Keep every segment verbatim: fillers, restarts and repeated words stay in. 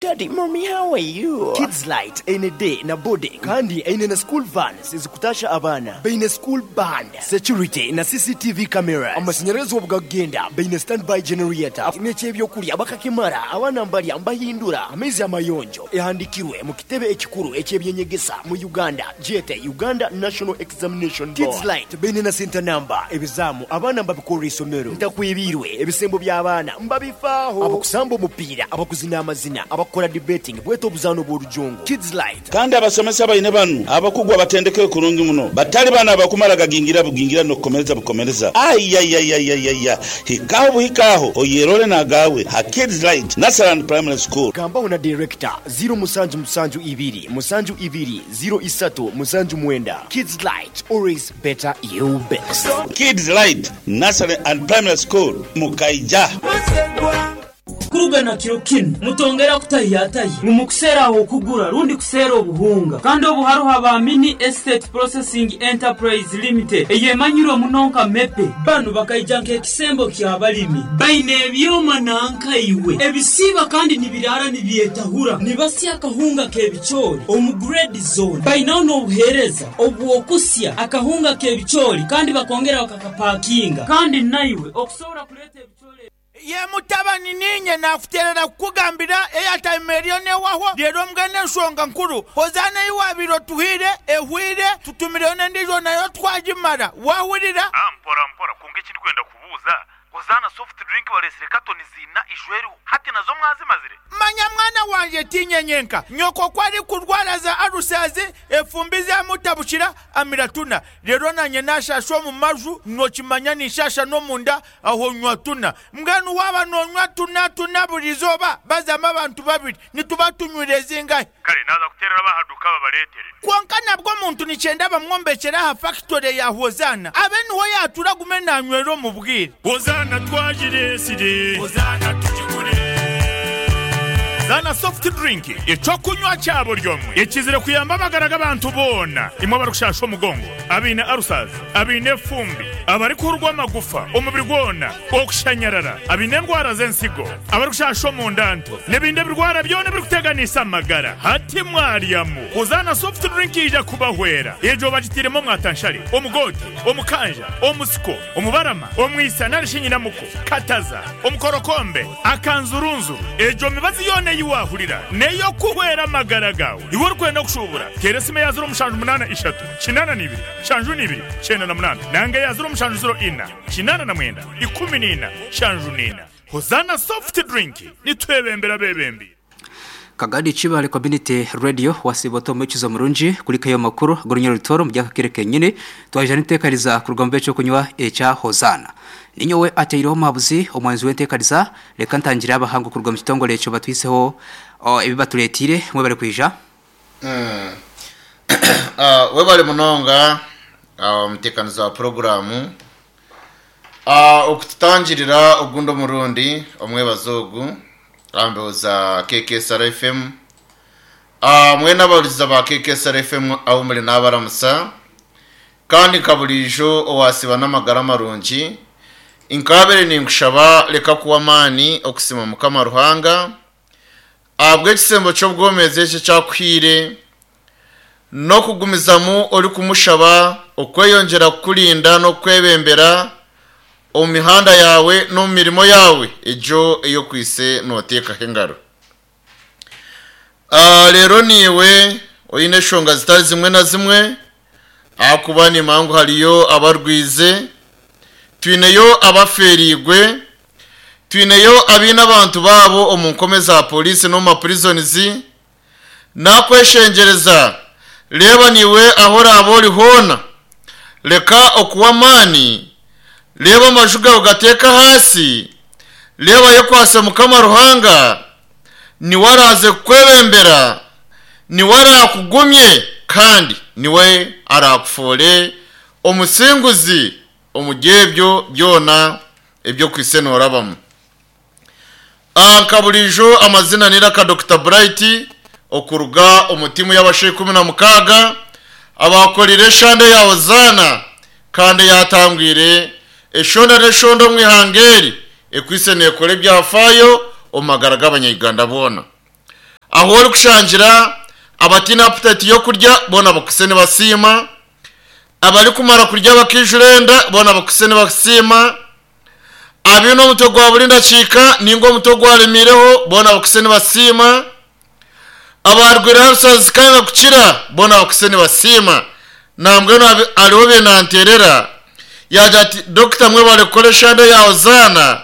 Daddy, mommy, how are you? Kids Light eine day na boarding kandi eine na school vans ezikutasha abaana. Baine school band, security na C C T V cameras. Amashanyarazi obugakugenda baine standby generator. N'eky'ebyokurya bakakimara, abaana mbarya mbahindura. Amaizi amayonjo. Ehandikirwe mu kitebe ekikuru eky'ebyenyegesa mu Uganda, gyete Uganda National Examination Board. Kids Light baine na center number. Ebizaamu abaana mbabikorera isomero. Ntakwebiirwe ebisembo by'abaana mbabifaaho. Abakusamba omupiira, abakuzina amazina, abakukora debating bwete obuzaano obw'orujongo. Kids Light. Kandi abasomesa baine banu abakugu abatendekere kurungi muno, batali bano abakumala gagingira bugingira n'okukomereza bukomereza. Aiyaiyaiyaiya, hikaagho buhikaagho oyerole n'agaawe ha Kids Light Nursery and Primary School. Gambaho na director ziro musanju musanju ibiri musanju ibiri ziro isatu musanju mwenda. Kids Light, always better you best. Kids Light Nursery and Primary School, Mukaija. Kuruga na kiro kinu mutongera kutahiyatahi ngu mukuseera aho okugura rundi kuseera obuhunga, kandi obu hariho aba Mini Estate Processing Enterprise Limited eyemanyirwe muno nka MEPE. Banu bakaija nk'ekisembo ky'abalimi, baine ebyoma nankaiwe ebisiiba kandi nibiraara nibyetahura, nibasya akahunga k'ebicoori omu grade zone. Bainaho n'obuheereza obw'okusya akahunga k'ebicoori kandi bakongera bakakapakinga, kandi naiwe okusobora kureeta ebicoori. Ye mutabani, niinye naakuteerera kukugambira airtime eriyo neehwaho. Reero mbwenu enshonga nkuru, Hozaana ei waabaire otuhaire ehweire, tutumireyo n'endiijo nayo twagimara. Waahurira? Ah, mpora mpora, kwonka eki ndikwenda kubuuza, Hozaana soft drink bareetsire katoni ziina ijo eriho, hati nazo mwazimazire? Manya mwana wangye, tiinye nyenka. Nyoko ku arikurwara za alusazi, efumbi zamutabukira, amira tuna. Reero naanye naashaasha omu maju, nookimanya ninshaasha n'omunda, aho nywa tuna. Mbwenu waaba noonywa tuna tuna buri izooba, bazamu abantu babiri, nituba tunywire zingahi? Kare naaza kuteerera ab'aha duuka babareetere. Kwonka nabwo omuntu nikyenda bamwombekyere aha fakitore ya Hozaana, abe niho yaatura agume naanywera omu bwire. Hozaana twagireetsire. Hozaana tugigure. Zaana soft drink, eky'okunywa kya buri omwe ekizire kuyamba amagara g'abantu boona. Imwe abarikushasha omugongo, abaine arusazi, abaine efumbi, abarikuhurwa amagufa omubiri gwona, okushanyarara, abaine endwara z'ensigo, abarikushasha omunda nto n'ebindi ebirwara byona ebirikuteganisa amagara, hati mwaryamu Hozaana soft drink ija kubahwera. Egyo bagitiiremu omwatanshare, omugote, omukanja, omusiko, omubarama, omwisa narishi nyinamuko, kataza, omukorokombe, akanzurunzuru. Egyo mibazi yoona ei waahurira n'ey'okuhwera amagara gaawe. Iwe orikwenda kushuubura, teera esimu eya ziro mushanju munaana ishatu kinaana na ibiri nshanju na ibiri kyenda na munaana nanga eya ziro mushanju ziro ina kinaana na mwenda ikumi na ina nshanju na ina. Hozaana soft drink, nitwebembera abeebembi. Kagadi Kibale Community Radio, wasiba omukizo murungi kulikayo makuru gorunyoro rutoro mu byakakire kenyine twaje niteekariza kuruga mu cyo kunywa ekya Hozana. Ninyowe ateireho mabuzi omwanzi w'enteekariza. Reka ntangira abahangu kuruga mu kitongole ekyo batwiseho ebibatuletire. Mwe bari kwija. Mm. uh, webale munonga omuteekanizi wa puroguramu uh, okututangirira ogundi omurundi omwebazo ogu ambeho za K K S R F M. uh, mwena abahurikiza ba K K S R F M aho muri n'abaramusa, kandi nka burijo owasiba n'amagara marungi, nkabere ninkushaba reka kuwa amaani okusima Mukama Ruhanga ahabw'ekisembo ky'obwomezi eki ekyakuhiire, n'okugumizamu orikumushaba okweyongyera kukurinda n'okwebembera omu mihanda yawe n'omu mirimo yawe egyo ey'okwise nooteekaho engaro. Ah, rero niiwe oine eshonga zitari zimwe na zimwe, ahakuba nimanya ngu hariyo abarwize, twineyo abaferiigwe, twineyo abaine abantu baabo omu nkome za polisi n'omu mapurizonizi. Nakweshengyereza, reeba niiwe aho oraaba ori hoona, reka okuwa amaani, reeba amaju gawe gateeka ahaasi, reeba yekwase Mukama Ruhanga, niwe araze kukwebembera, niwe arakugumye, kandi niwe arakufuure omusinguzi omu byebyo byona ebyokwise noorabamu. Nka burijo, amazina niraka Doctor Bright okuruga omu tiimu y'abashaija ikumi na mukaaga abakorire eshande ya Hozaana, kandi yatangwire eshonda n'eshonda omu ihanga eri ekwise neekora ebyafaayo omu magara g'Abanyayuganda boona. Aho ori kushangira abatiine appetite y'okurya boona bakuse nibasiima, abarikumara kurya bakaijura enda boona bakuse nibasiima, abaine omutwe gwa buri ndakiika ninga omutwe ogwaremiireho boona bakuse nibasiima, abarwaire ulcers zikanga kukira boona bakuse nibasiima. Nambwenu hariho benanterera yagira ati dokita mwebare kukora eshande ya Hozaana,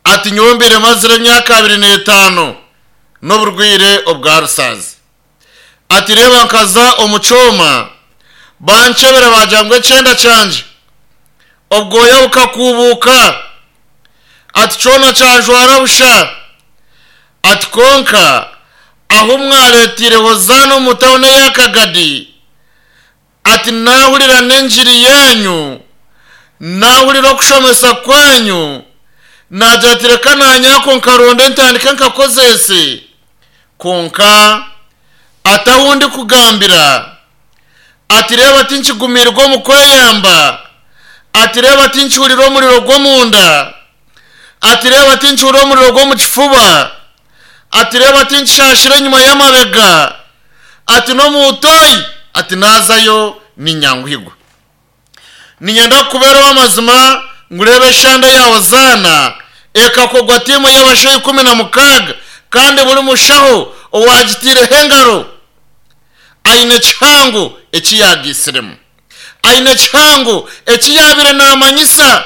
ati nyowe mbaire mazire emyaka abiri n'etaano n'oburwaire obwa ulcers. Ati reeba nkaza omu kyoma bankyebera bagira ngu ekyenda kyangye obwoya bukakuubuuka, ati kyona kyajwara busha, ati konka ahu mwareetiire Hozaana omu tawuni eya Kagadi, ati naahurira n'engiri yanyu, naahurira okushomesa kwanyu, nagira ati reka nanyako nkaronda entandike nkakozese, konka atahundi kugambira, ati reeba tinkigumirwa omu kweyamba, ati reeba tinkihurira omuriro gw'omunda, ati reeba tinkihurira omuriro gw'omu kifuba, ati reeba tinkishashira enyuma y'amabega, ati n'omutoyi, ati nazayo ninyanguhigwa. Ninyenda kukubeeraho amazima ngurebe eshande ya Hozaana ekakogwa tiimu y'abashaho ikumi na mukaaga, kandi buri mushaho owagitiireho engaro aine ekihango eki yagiisiremu, aine ekihango eki yaabire naamanyisa.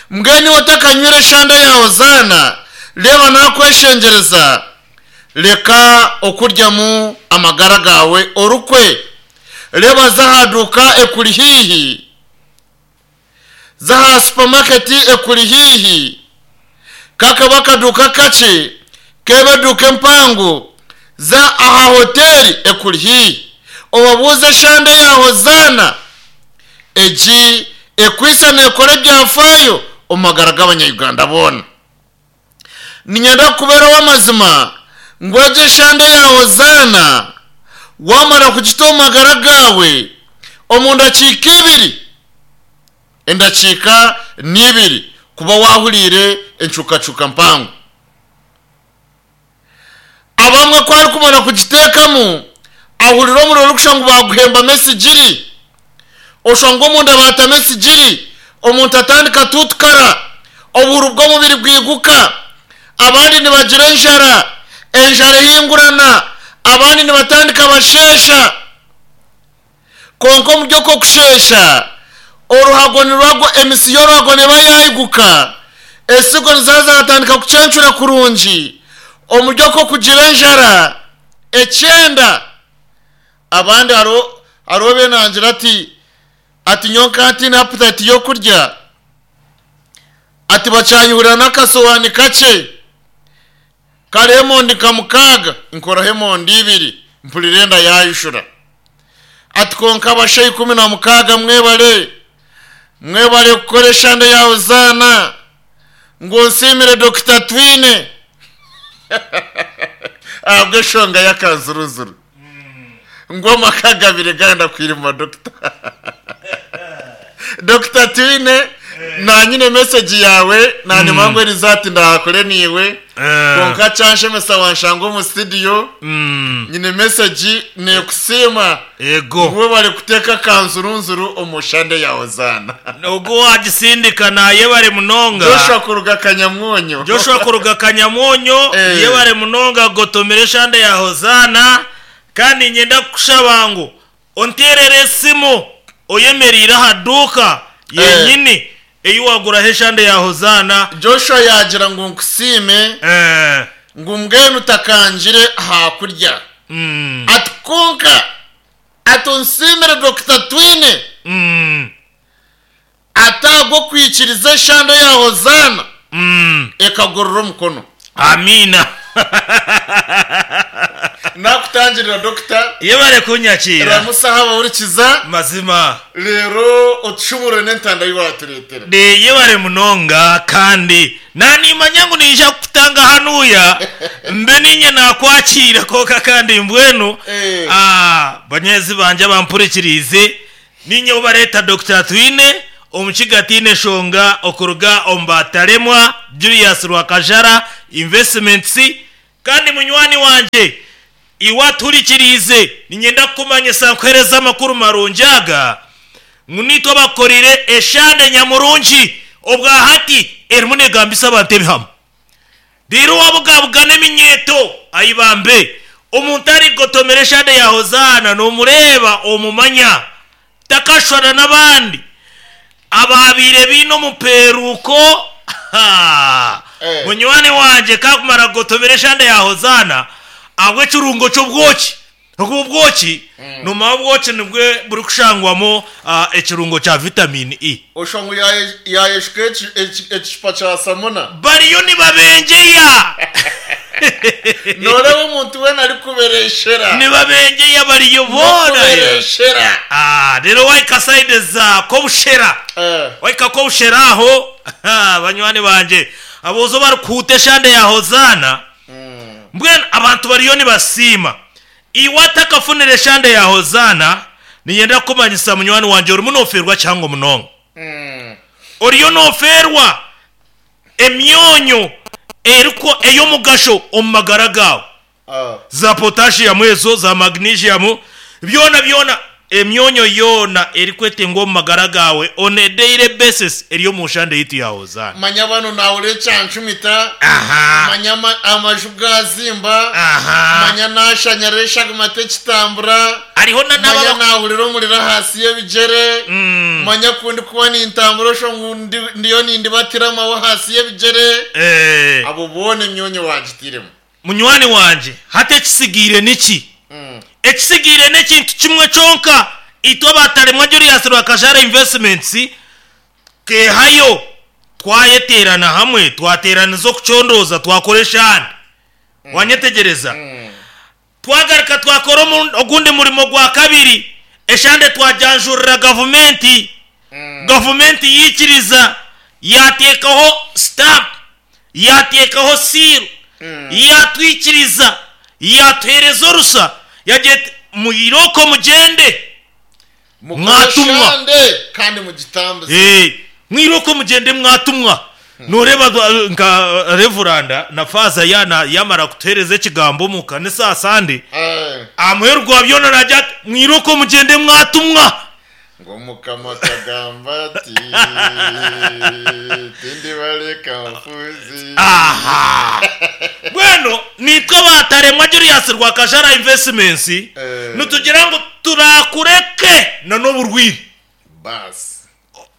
Mbwenu iwe otakanywire eshande ya Hozaana, reeba nakweshengyereza, reka okuryamu amagara gawe orukwe, reeba zahaduuka ekuri haihi, zaha supermarket ekuri haihi, kakaba akaduuka kakye kebe eduuka empango, za aha hoteri ekuri haihi, obabuuze eshande ya Hozaana egi ekwisa nekora ebyafaayo omu magara g'abanyayuganda boona. Ninyenda kukubeeraho amazima ngu egyo eshande ya Hozaana wamara kugita omu magara gawe omu ndakiika ibiri, endakiika n'ibiri kuba wahuriire encukacuka mpango. Abamwe ku arikumara kugiteekamu ahurira omuriro orikushusha ngu baguhembamu esigiri, oshusha ngu omunda baatamu esigiri, omuntu atandika tutukara, obuhuru bw'omubiri bwiguka, abandi nibagira enjara, enjara ehingurana, abandi nibatandika basheesha. Konka omu by'okushesha oruhago nirwago, emisi y'oruhago neba yayiguka, esigo nizaza zatandika kucencura kurungi, omu by'okugira enjara ekyenda. Abandi hariho hariho benangira ati ati nyonka ntiine appetite y'okurya, ati bakyanyihurira n'akasowani kakye kariho emondi nka mukaaga, nkoraho emondi ibiri mpurira enda yayishura. Ati konka abashaho ikumi na mukaaga mwebare, mwebare kukora eshande ya Hozaana, ngu nsiimire Dokita Twine ahabw'eshonga y'akanzuruzuru, ngu amaka gabiri ganda kwirima dokita. Dokita Twine nanyine message yawe nanyuma ngu erizati ndahakore niiwe, konka kyanshemesa wanshanga omu studio, nyine message nekusiima ego ngu bari kuteeka kanzurunzuru omu shande ya Hozaana. Ogwo wagisindika nayebare munonga. Joshua kuruga Kanyamwonyo. Joshua kuruga Kanyamwonyo, Eh. yebare munonga gotomere eshande ya Hozaana. Kandi nyenda kukushaba ngu onterere esimu oyemeriire aha duuka yenyini eyi waguraho eshande ya Hozaana. Joshua yagira ngu nkusiime, Eh, ngu mbwenu utakangire hakurya, mm, ati konka ati onsiimire Dokita Twine mm, atagwo kwikiriza eshande ya Hozaana mm. ekagorora omukono. Amina. Nakutangirira dokita, Yebare kunyakira. ramusaha abahurikiza Mazima. rero otushumure n'entanda yiwatureetera. De yebare munonga, kandi nanimanya ngu ninja kukutanga hanuya mbe ninye nakwakira koka kandi mbwenu. Eh. Ah, banyezi banje bampurikirize, ninye ubareta Dokita Twine omukiga tiine shonga okuruga omu bataremwa Julius Rwakajara Investments. Kandi munywani wanje iwaturikirize ninyenda kukumanyisa nkuhereza amakuru marungi aga ngu nitwe bakorire eshande nyamurungi obwahati erimu negambisa abantu ebihamo. Rero wabugabugana eminyeto ayibambe omuntu arigotomera eshande ya Hozana nomureba omumanya takashwana n'abandi ababire bino omuperuko. Eh. Munywani wanje kakumara gotomera eshande ya Hozana abwe ekirungo ky'obwoki oku obwoki numa obwoki nibwe buri kushangwamo ah, ekirungo kya vitamini E. Oshongo yayeshuka ekicupa kya samuna. Bariyo nibabenjeya. Noreba omuntu wena arikubereshera. Nibabenjeya bariyo boona. Kubereshera. Ah, rero waika side za kobushera. Eh. Waika kobushera aho banywani banje abozo barikuhuta eshande ya Hozana. Mbwenu abantu bariyo nibasiima. Iwatakafunira eshande ya Hozana niyenda kumanyisa munywani wanje orimu noferwa cyangwa munonga. Oriyo noferwa emyonyo eriko ey'omugasho omu magara gawe. Ah. Za potassium ezo za magnesium byona byona emyonyo yona erikwetengwa omu magara gawe on a daily basis eriyo mu nshande yitu ya Hozana. Manya bano nawure kyanshumita. Aha. Manya ama- amaju gazimba. Aha. Manya nashanyara mate kitambura. Hariho na Manya n'ababa nahurira omuriro hasi y'ebigere. Mm. Manya kundi kuba nintambura osho ndi- ndiyo nindibatira amawe hasi y'ebigere. Eh, Abo boona emyonyo wagitiremu. munywani wanje hati ekisigiire niki? Ekisigiire n'ekintu kimwe kyonka itwe abataremwa Julius Rwakajara Investments kehayo twayeterana hamwe twateraniza okucondoza twakora eshande. Wanyetegereza twagaruka twakora omu- ogundi murimo gwa kabiri eshande twajanjurira gavumenti. Gavumenti yikiriza yateekaho stamp yateekaho seal yatwikiriza yatuhereza orusa yagira ati muyiroko mugende. Mwatumwa. Mukoreshande kandi mugitambuze. Eh, mwiroko mugende mwatumwa. Noreba dwa- nka revuranda na faza yana yamara kutuhereza ekigambo mu kanisa asande Eh. amuheru gwa byona najya ati mwiroko mugende mwatumwa. Ngo mukama kagamba ati tindi bareka mfuzi. Aha bweno nitwe bataremwa Julius Rwakajara Investments. Eh. Nitugira ngo turakureke na n'oburwiri. Basi.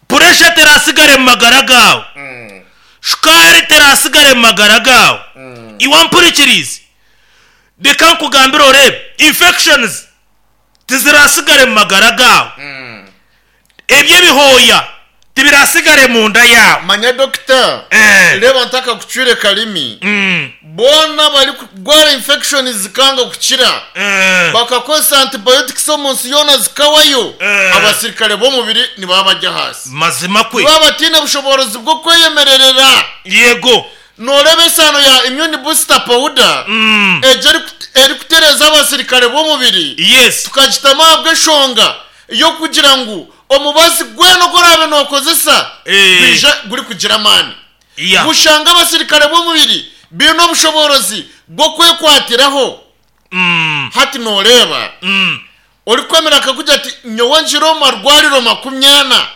Puresha terasigare mu magara gawe. Mm. Shukari terasigare mu magara gawe. Iwampurikirize reka nkugambire orebe infections tizirasigare mu magara gawe. Ebyo ebihoya tibirasigare mu nda yawe. Manya dokita. Eh. Reba ntaka kucwire kalimi. Mm. Bona bari kugwara infection zikanga kukira. Eh. Bakakozesa antibiotics omunsi yona zikawayo. Eh. Abasirikare b'omubiri nibaba bajya hasi. Mazima kwe. Baba batina bushoborozi bwo kweyemererera. Yego. Noreba esano ya immune booster powder. Mm. Ejo eri kutereza abasirikare b'omubiri. Yes. Tukagitama ahabw'eshonga yo kugira ngu omubazi gweno gorabe nokozesa Eh. gwija guri kugira amaani. Yeah. Gushanga abasirikare b'omubiri bine obushoborozi bwo kwekwatiraho. Mm. Hati noreba Mm. ori kwemera akakugira ati nyowe njire omu marwariro makumyana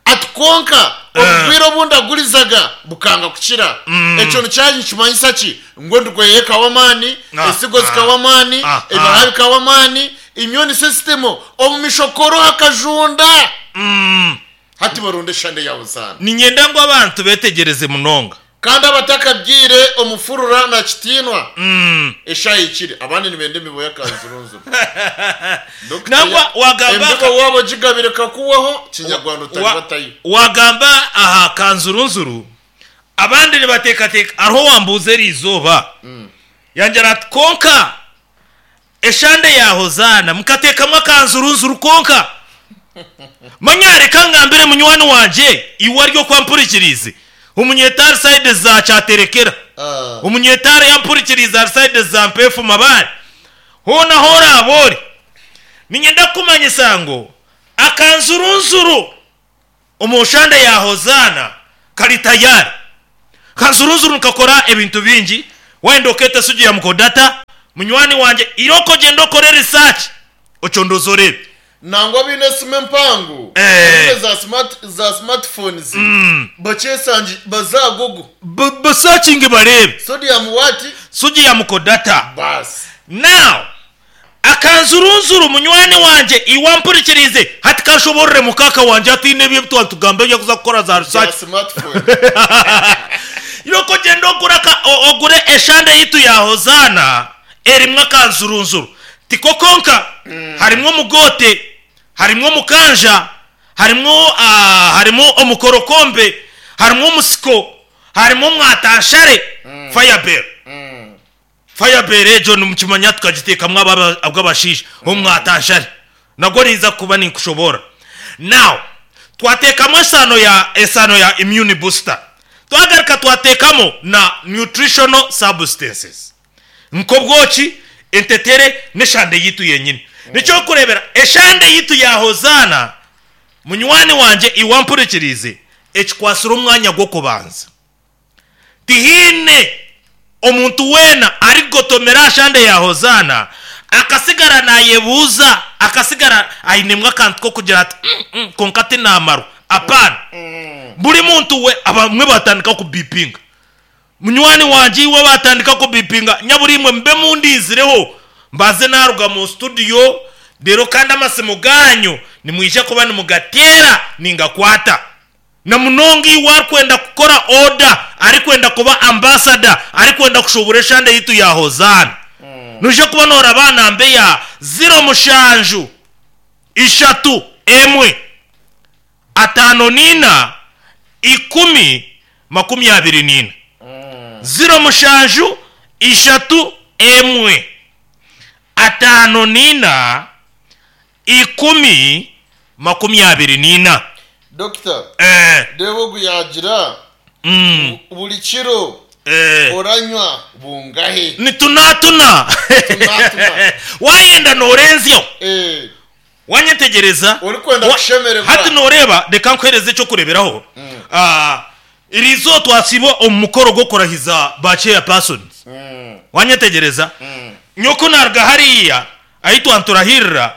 ati konka obugwire obundi agurizaga bukanga kukira. Ekyo nikyaje nikimanyisa ki ngu endurwaire ekawa amaani, Ah, esigo zikawa amaani, ah, ebihaha bikawa amaani, immune system omu mishokoro hakajunda. Mm. Hati barunde eshande yawe zaana. Ninyenda ngu abantu betegereze munonga. Kandi abatakabyire omufurura na kitiinwa. Mm. Eshayikire abandi nibenda emibo y'akanzurunzuru. Nangwa wagamba embibo wabo gigabire kakuwaho kinyarwanda utari Wa- batayo. wagamba aha kanzurunzuru abandi nibateekateeka hariho wambuuza eri izooba. Yangira ati konka eshande ya Hozana mukateekamu akanzurunzuru konka. Manya reka ngambire munywani wanje iwe aryo kwampurikirize umunyetari side za cyaterekera. Ah. Umunyetari yampurikiriza side za mpefu mabare hona hora abori ninyenda kumanyisa ngo akanzurunzuru omushande ya Hozana kari tayari. Kanzurunzuru nkakora ebintu bingi. Wenda okete sodium kodata munywani wanje iroko genda okore research ocondoza orebe. Nangwa biine esimu empango Eh. biine za smart za smartphones bakyesangi baza Google Basearchinge barebe sodium what sodium kodata. Basi Now akanzurunzuru munywani wanje iwampurikirize hati kashoborere mukaka wanje atine ebyo twatugamba ebyo kuza kukora za za research smartphone. Iroko genda ogura ka o- ogure eshande yitu ya Hozana erimwo akanzurunzuru tikokonka mm. Harimwo mugote, harimwo mukanja, harimwo uh, harimwo omukorokombe, harimwo musiko, harimwo mwatanshare mm. Firebell mm. Firebell ejo nimukimanya tukagitekamwo abw'abashisha mm. Omwatanshare nagwo niza kuba ninkushobora. Now twatekamo esano ya esano ya immune booster, twagaruka twatekamo na nutritional substances nkobwoki entetere n'eshande yitu yenyine mm. Nicyo kurebera eshande yitu ya Hozana munywani wanje iwampurikirize ekikwasira omwanya gwo kubanza tihine omuntu wena arigotomera ashande ya Hozana akasigara nayebuza akasigara ainemwa akantu ko kugira ati mm, mm, konka tinamaro apana mm. Buri muntu we abamwe batandika kubipinga munywani wanje iwe batandika kubipinga nyaburimwe mbe mundizireho mbaze naruga mu studio rero kandi amasimu ganyu nimwije kuba nimugatera ningakwata na munonga iwe arikwenda kukora order arikwenda kuba ambassador arikwenda kushobora eshande yitu ya Hozana mm. Nuje kuba nora abana mbe ya zero mushanju ishatu emwe atano nina ikumi makumi abiri nina mm. Zero mushanju ishatu emwe atano nina ikumi makumi abiri nina. Doctor eh debo guyagira mm. Buri kiro eh oranywa bungahe ni tunatuna tunatuna wayenda norenzyo eh wanyetegereza uri kwenda kushemererwa hati noreba reka nkwereze cyo kureberaho mm. Ah irizo twasibo omukoro gwo kurahiza ba chairpersons mm. Wanyetegereza mm. Nyoko narga hariya aitwa nturahirira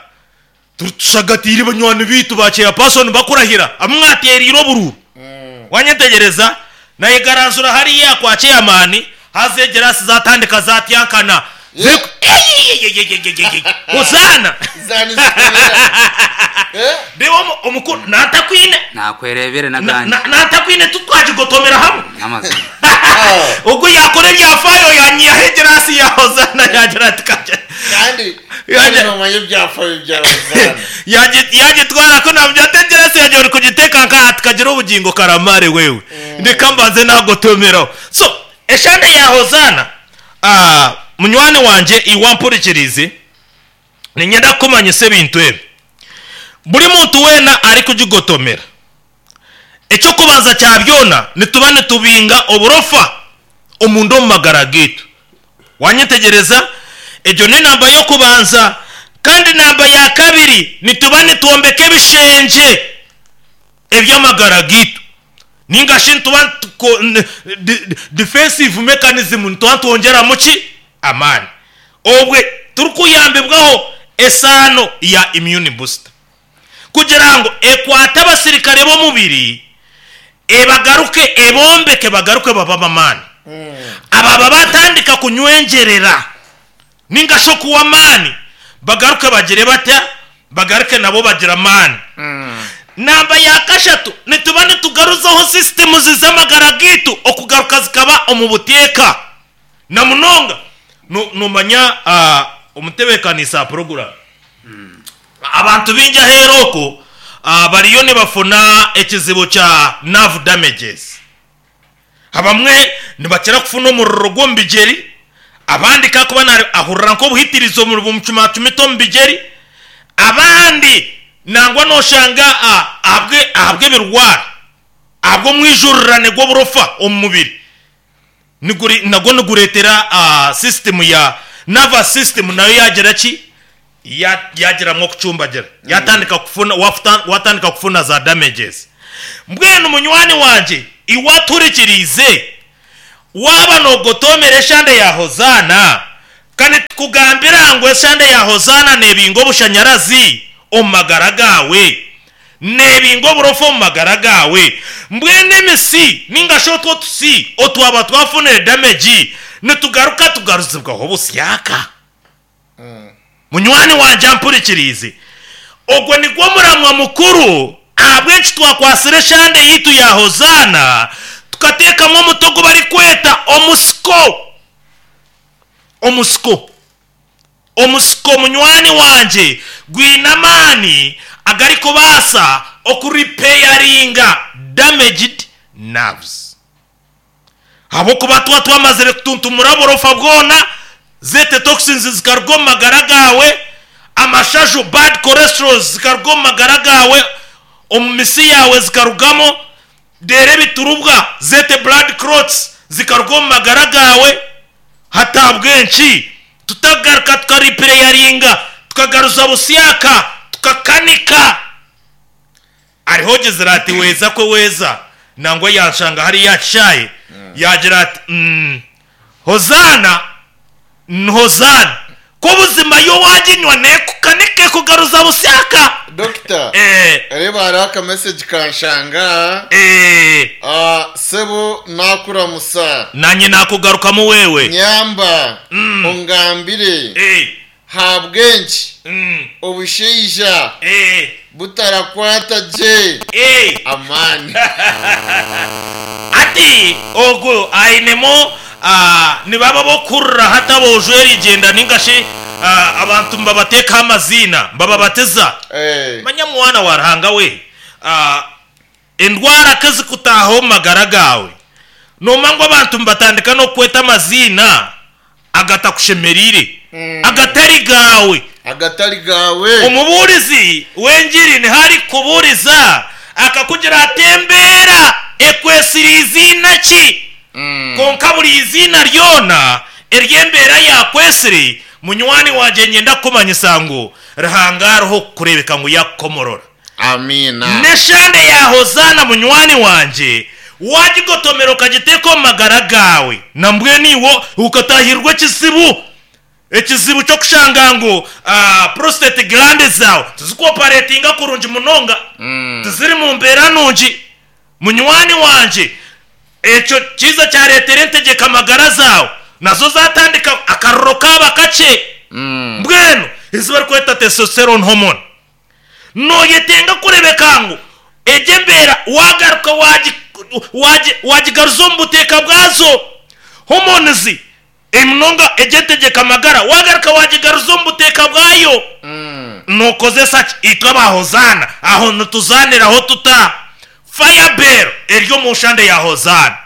tushagatire banywani bitu ba chairperson bakurahira amwateriro bururu mm. Wanyetegereza naye garanzura hariya kwa chairman hazegera zatandika zatyankana Yeah. Hozana zani eh Debo omukuru natakwine nakwerebere naganje natakwine tutwajigotomera hamwe amazi ubwo yakora ibyafayo yanyiyahegerasi ya Hozana yagira ati kaje kandi Yaje- kandi ibyafayo bya Hozana yagitwara ko nabyo ategerasi yagiye uri kugiteka nka tukagira ubugingo karamare wewe ndeka mbanze nagotomeraho. So eshande ya Hozana ah munywani wanje iwampurikirize ninyenda kumanyisa ebintu ebi buri muntu wena ari kugigotomera icyo kubanza cya byona nituba nitubinga oburofa omundu omu magara gitu. Wanyetegereza egyo ni namba yo kubanza kandi namba ya kabiri nituba nitwombeka ebishenje eby'amagara gitu ningashi nituba defensive mechanism nituba twongera muki amani obwe turikuyambibwaho esano ya immune booster kugira ngo ekwate abasirikare b'omubiri ebagaruke ebombeke bagaruke baba amani mm. Ababa batandika kunywengerera ningasho kuwa amani bagaruke bagire batya bagaruke nabo bagira amani mm. Namba ya kashatu nituba nitugaruzaho system z'amagara gitu okugaruka zikaba omu buteeka na munonga numanya uh, omutebekanisa program mm. Abantu bingi aheroko uh, bariyo nibafuna ekizibu kya nerve damages abamwe nibakira kufuna omuriro gw'omubigeri abandi kakuba ahurira nk'obuhitirizo bumucumacumita omu bigeri abandi nangwa noshanga ahabwe ahabwe ebirwara ahabwe omwijurirane gw'oburofa omu mubiri niguri nagwo niguretera uh, system ya nervous system nayo yagira ki yagiramwo kucumbagira mm. Yatandika kufuna watandika kufuna za damages. Mbwenu munywani wanje iwaturikirize Waba nogotomera eshande ya Hozana, kandi tukugambira ngu eshande ya Hozana nebinga obushanyarazi omu magara gawe, nebinga oburofa omu magara gawe. Mbwenu emisi ninga shi otwo tusi otwaba twafunire damage, nitugaruka tugaruzibwaho busyaka. Munywani wanje ampurikirize, ogwo nigwo muramwa mukuru ahabw'eki twakwasire eshande yitu ya Hozana, tukateekamu omutogo barikweta omusiko. Omusiko, omusiko munywani wanje gwine amaani agarikubaasa okuripeyaringa damaged nerves. Ahabw'okuba tuba twamazire kutuntumura oburofa bwona, zete toxins zikaruga omu magara gawe, amashaju bad cholesterol zikaruga omu magara gawe, omu misi yawe zikarugamo, dere ebiturubwa zete blood clots zikaruga omu magara gawe. Hatabwenki tutagaruka tukaripeyaringa, tukagaruza busyaka, tukakanika. Ariho ogizira ati weza kwe weza, nangwa yanshanga hari yakishaye, yagira ati mm, Hozana Hozana ko buzima yo waginywa nekukanike kugaruza busyaka. Doctor, eh, reba hariho aka message kanshanga. Eh, Ah, sebo nakuramusa. Nanye nakugarukamo wewe. Nyamba, Mm. ungambire. Eh. Habwenki Mm. obushaija Eh. butarakwata je Eh. amani. Ati ogwo ainemo, ah, nibaba bokurra hatabojwe rigenda ningashi, ah, abantu mbabateka amazina mbababateza. Eh. Manya mwana wa Ruhanga we, ah, endwara kezikutaho magara gawe, nomangwa abantu mbatandika no kweta amazina agatakushemerire, Mm. agatari gawe, agatari gawe. Omuburizi w'enjiri ntihari kuburiza akakugira atembera ekwesiri izina ki, Mm. konka buri izina ryona ery'embeera yakwesiri. Munywani wanje nyenda kumanyisa ngu Ruhanga ariho kukurebeka ngu yakukomorora. Amina. Neshande ya Hozana munywani wanje wagigotomera ukagiteka omu magara gawe, nambwe niwo ukatahirwa ekizibu, ekizibu kyokushanga ngu, ah, prostate gland zawe tizikuoperatinga kurungi munonga, Mm. tiziri mu mbeera nungi. Munywani wanje ekyo kiza kyareetera entegeka amagara zawe nazo zatandika akaruro kaba kakye. Mm. Mbwenu ezi barikweta testosterone hormone, noyetenga kurebeka ngu egyo embeera wagaruka wagi-, wagi-, wagigaruza omu buteeka bwazo. Hormones emunonga egyo entegeka amagara wagaruka wagigaruza omu buteeka bwayo. Mm. Nokozesa ki? Itwe abahozana aho nituzaniraho tuta firebell eryo mu nshande ya Hozana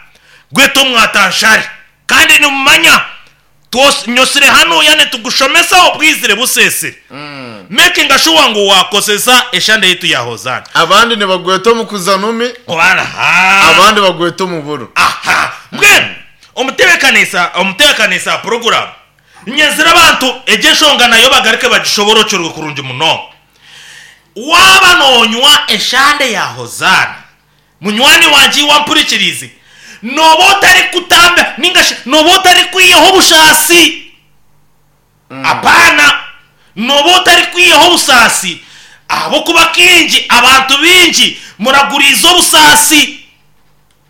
gweta omwatanshari. Kandi nimumanya twos-, nyosire hano yane tugushomesa obwizire busesire. Mm. Making sure ngu wakosesa eshande yitu ya Hozana. Abandi nibagweta omu kuzanumi, Aha. abandi bagweta omu buru. Aha. Mbwenu omutebekanisa, omutebekanisa program nyezira abantu egyo enshonga nayo bagaruke bagishoborokyerwe kurungi munonga. Waba nonywa eshande ya Hozana, munywani wanje wampurikirize, noba otari kutamba ninga shi noba otari kwiyaho obushasi. Mm. Apana, noba otari kwiyaho obusasi. Ahabw'okuba kingi abantu bingi muraguriza obusasi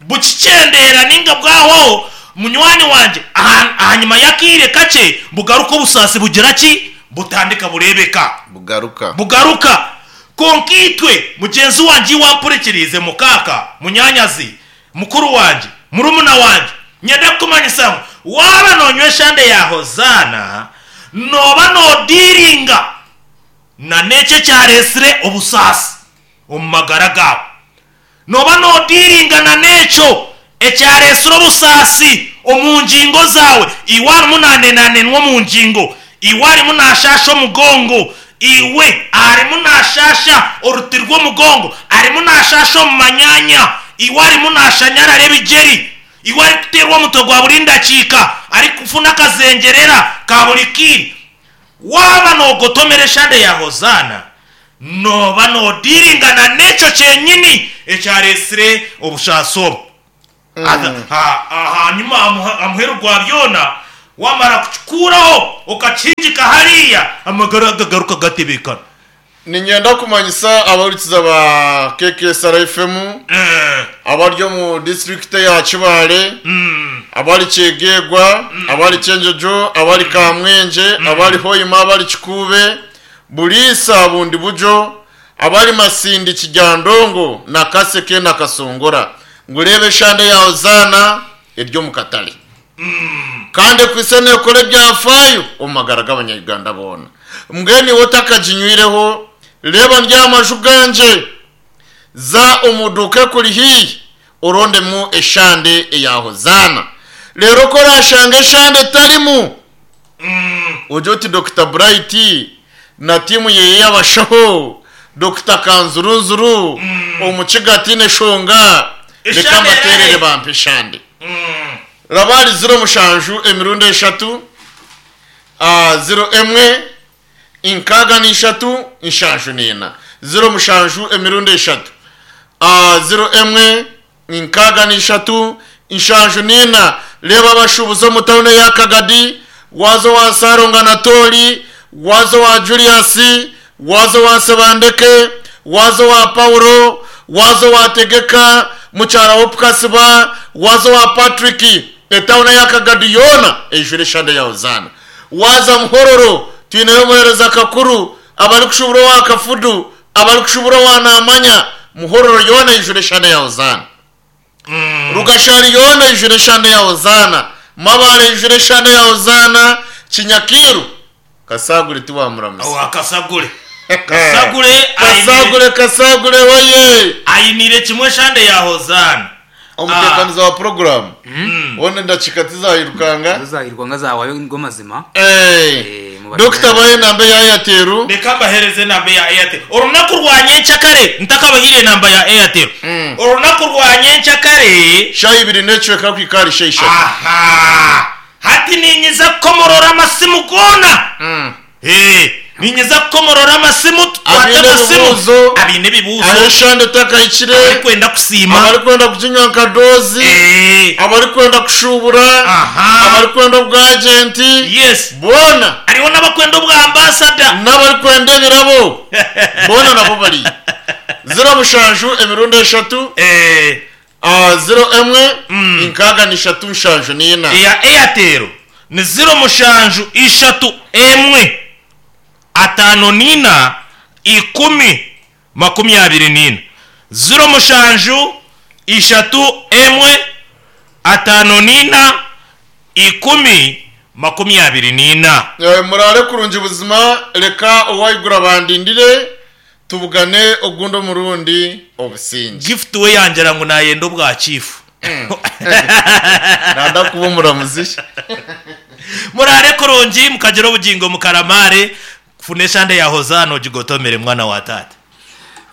bukicendera ninga bwaho. Munywani wanje aha-, ahanyuma y'akaire kakye bugaruka obusasi bugira ki, butandika burebeka, bugaruka, bugaruka. Konka itwe mugenzi wanje wampurikirize, mukaka munyanyazi, mukuru wanje, murumuna wanje, nyenda kukumanyisa ngu waba nonywa eshande ya Hozana, noba nodiringa na n'ekyo kyaresire obusasi omu magara gawe, noba nodiringa na n'ekyo ekyaresire obusasi omu ngingo zawe. Iwe arimu nanenanenwa omu ngingo, iwe arimu nashasha omugongo, iwe arimu nashasha oruti rw'omugongo, arimu nashasha omu manyanya, iwe arimu nashanyarara ebigeri, iwe arikuteerwa omutwe gwa buri ndakiika, arikufuna akazengerera ka buri kiiri. Waba nogotomera eshande ya Hozana, noba nodiringana n'ekyo kyenyini ekyaresire obushasi obwo. Ha- ha- hanyuma amuha- amuheru gwa byona wamara kukikuraho okakingika hariya amagara gagaruka gatebekana. Ninyenda kumanyisa abahurikiza ba K K S R F M, Eh, abari omu district ya Kibaale, mm, abari Kyegegwa, abari Kyenjojo, abari Kamwenje, abari Hoima, abari Kikuube, Buliisa, Bundi Bujo, abari Masindi, Kijandongo na Kaseke na Kasongora, ngurebe eshande yawe zaana eryo mu katale kandi kwise nekora ebyafayo omu magara g'abanyarwanda boona. Mbwenu iwe otakaginywireho, reba ndyamaju ganje, za omuduka kuri hiyi orondemu eshande eya Hozana. Rero ko orashanga eshande etarimu, ujye uti Doctor Bright na timu yeye y'abashaho, Doctor Kanzurunzuru omukigati neshonga, reka Eshande mbaterere erahe? Bampe eshande. mm. Rabari ziro mushanju emirundi eshatu, ah, ziro emwe inkaga n'ishatu inshanju n'ina, ziro mushanju emirundi eshatu, ah, ziro emwe inkaga n'ishatu inshanju n'ina. Reba abashubuzi omu tawuni ya Kagadi, wazo wa Saronga na Tori, wazo wa Julius, wazo wa Sebandeke, wazo wa Paulo, wazo wa Tegeka mukyara wopukasiba, wazo wa Patrick, etawuni ya Kagadi yoona ejure eshande ya Hozana. Waza Muhororo, twineyo omuheereza kakuru, abari kushubura owa Kafudu, abari kushubura owa Namanya, Muhororo yoona ejure eshande ya Hozana. Rugashari yoona ijure eshande ya Hozana. Mabare ijure eshande ya Hozana. Kinyakiru, Kasagure tiwamuramusa. Awo akasagure kasagure. Kasagure, Kasagure oye! Ayinire kimwe eshande ya Hozana. Omutekaniza wa porogaramu wone ndakika tizayirukanga. Zuzahirwa zawayo ngo mazima. Eh, Eh, mu Dr baye nambe ya Airtel. Reka mbahereze namba ya Airtel olunaku rwa nyenkyakare ntakabahire namba ya Airtel olunaku rwa nyenkyakare. Shayi ibiri necweka kwikari sheyishatu. Aha, hati ninyiza kukomorora amasimu gona. Eh, ninyiza kukomorora amasimu, tukwate Abine amasimu. ebibuuzo. Abine ebibuuzo. Aho eshande takahikire. Abarikwenda kusiima. Abarikwenda kuginywa nka dozi, Eh, abarikwenda kushubura, Aha. abarikwenda obwagenti, yes boona. Hariho n'abakwenda obwa ambasada. N'abarikwenda ebirabo boona nabo bari ziro mushanju emirundi eshatu, Eh, ah, ziro emwe inkaaga n'ishatu nshanju n'ina. Eya Airtel ni ziro mushanju ishatu emwe atano nina ikumi makumyabiri nina, ziro mushanju ishatu emwe atano nina ikumi makumyabiri nina. Eh, murare kurungi buzima. Reka owayigura bandindire tubugane ogundi omurundi obusinge. Gift we yangira ngu nayenda obwa chifu. Nanda kuba omuramuzi. Murare kurungi, mukagira obugingo mukaramare. Funa eshande ya Hozana ogigotomere mwana wa tata.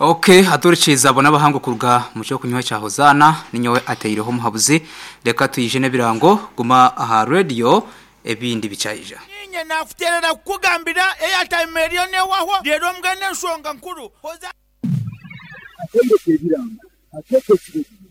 Okay, aturikiza abo n'abahango kuruga mu cyo kunywa cya Hozana, ninyowe ateireho muhabuzi. Reka tuyije n'ebirango, guma aha radio ebindi bicyayija. Ninye nakuterera kukugambira airtime eriyo newaho rero mbwene enshonga nkuru hoza. Atendeka ebirango ateeka ekirezi.